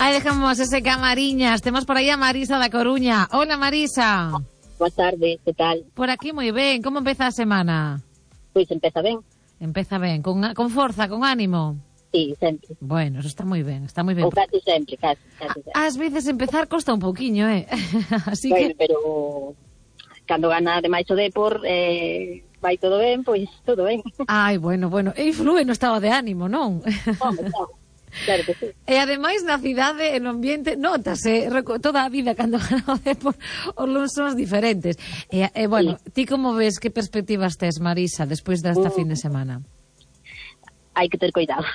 Aí dejamos ese camariñas. Temos por aí a Marisa da Coruña. Hola, Marisa. Boa tarde, que tal? Por aquí moi ben. Como empeza a semana? Pois empeza ben. Empeza ben, con forza, con ánimo. Sí, sempre. Bueno, eso está moi ben, está moi ben. Ou casi sempre, casi sempre. Ás veces empezar costa un pouquiño, Así bueno, que... pero cando gana demais o Depor, vai todo ben, pois todo ben. Ai, bueno, e influe no estado de ánimo, non? Home, claro que sí. E ademais na cidade, no ambiente, notase toda a vida cando gana o Depor, os luns son diferentes. E bueno, sí. Ti como ves, que perspectivas tes, Marisa, despois desta fin de semana? Hai que ter cuidado.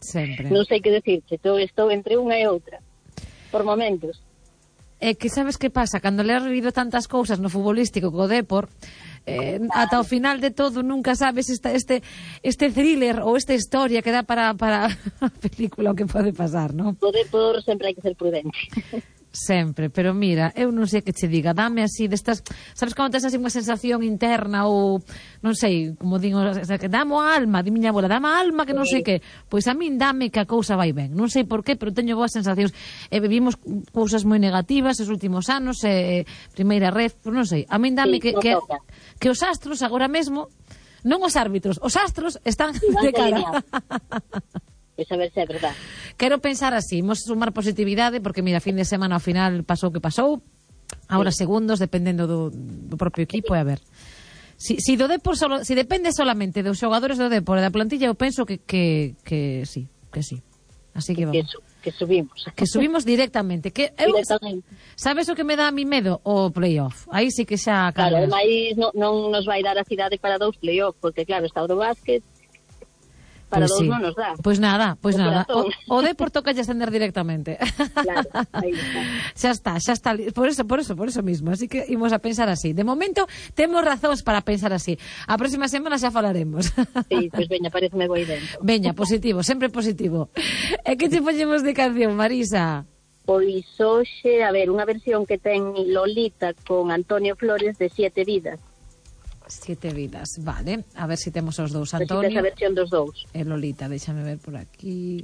Sempre. Non sei que decirche, estou entre unha e outra. Por momentos. É que sabes que pasa? Cando le has vivido tantas cousas no futbolístico co Depor, ata o final de todo nunca sabes este thriller ou esta historia que dá para a película o que pode pasar, non? O Depor sempre hai que ser prudente. Sempre, pero mira, eu non sei que che diga, dame así destas, sabes como tes así unha sensación interna ou non sei, como digo, que dame a alma, di miña abuela, dame a alma que non sei que, pois a min dame que a cousa vai ben, non sei por qué, pero teño boas sensacións, vivimos cousas moi negativas os últimos anos, primeira red, pois non sei, a min dame que os astros agora mesmo, non os árbitros, os astros están de cara. Pois a ver se é verdade. Quero pensar así, imos sumar positividade, porque mira, fin de semana ao final pasou o que pasou, agora segundos, dependendo do propio equipo, e a ver. Si do Depor si depende solamente dos xogadores do Depor e da plantilla, eu penso que sí, que sí. Así que vamos. Que subimos. Que subimos directamente. Directamente. Sabes o que me dá a mi medo? O playoff. Aí sí que xa... Claro, ademais non nos vai dar a cidade para 2 playoff, porque claro, está o do básquet, para pues 2 sí. non nos dá. Pois nada. O Depor toca lle ascender directamente. Claro, aí está. Xa está. Por eso mismo. Así que imos a pensar así. De momento, temos razóns para pensar así. A próxima semana xa falaremos. Sí, pois veña, pareceme boa idea. Veña, positivo, sempre positivo. E que che poñemos de canción, Marisa? Pois hoxe, a ver, unha versión que ten Lolita con Antonio Flores de 7 vidas. 7 vidas, vale. A ver se temos os dous, Antonio. Antonio. Esa versión dos dous. E Lolita, déxame ver por aquí.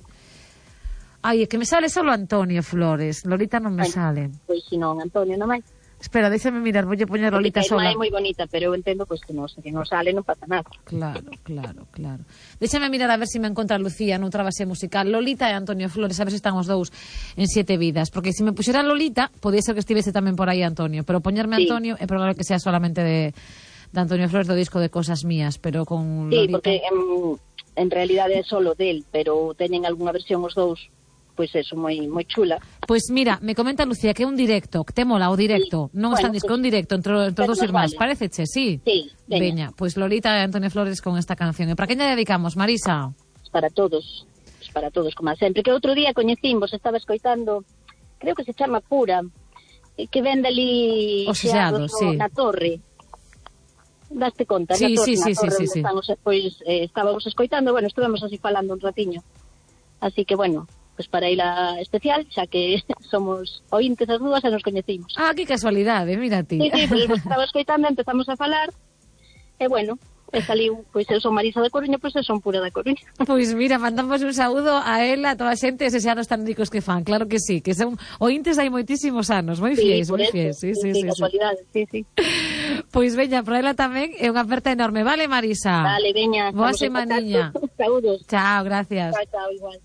Ai, é que me sale solo Antonio Flores. Lolita non me sale. Pois si non, Antonio non máis. Espera, déxame mirar, voulle poñer Lolita sola. É moi bonita, pero eu entendo pois que non sale, non pasa nada. Claro. Déxame mirar a ver se me encontra Lucía noutra base musical. Lolita e Antonio Flores, a ver se están os dous en 7 vidas, porque se me puxera Lolita, podía ser que estivese tamén por aí Antonio, pero poñerme Antonio é probable que sea solamente de Antonio Flores do disco de Cosas Mías, pero con Lolita... Sí, porque en realidade é solo del, pero teñen algunha versión os dous, pois eso, moi chula. Pois mira, me comenta Lucía que é un directo, que te mola o directo, non está en disco, un directo entre dos irmáns, pareceche, sí? Sí, veña. Pois Lolita e Antonio Flores con esta canción. E para quen lle dedicamos, Marisa? Para todos, como sempre. Que outro día coñecimos, estaba escoitando, creo que se chama Pura, que vende ali... Os seados, sí. Na torre. Daste conta, sí, na torre sí. Pois estábamos escoitando, bueno, estuvemos así falando un ratiño. Así que, bueno, pues para ir a especial, xa que somos ointes as dúas e nos coñecimos. Ah, que casualidade, mira ti. Sí, pues estaba escoitando, empezamos a falar, e bueno, saliu, pois eu son Marisa da Coruña, pois eu son Pura da Coruña. Pois mira, mandamos un saúdo a ela, a toda a xente, eses anos tan ricos que fan, claro que sí, que son ointes hai moitísimos anos, moi fiéis, moi fiéis. Sí, casualidade, sí. Pois veña, para ela tamén é unha aperta enorme, vale, Marisa? Vale, veña. Boa semaniña. Saúdos. Chao, gracias. Chao, igual.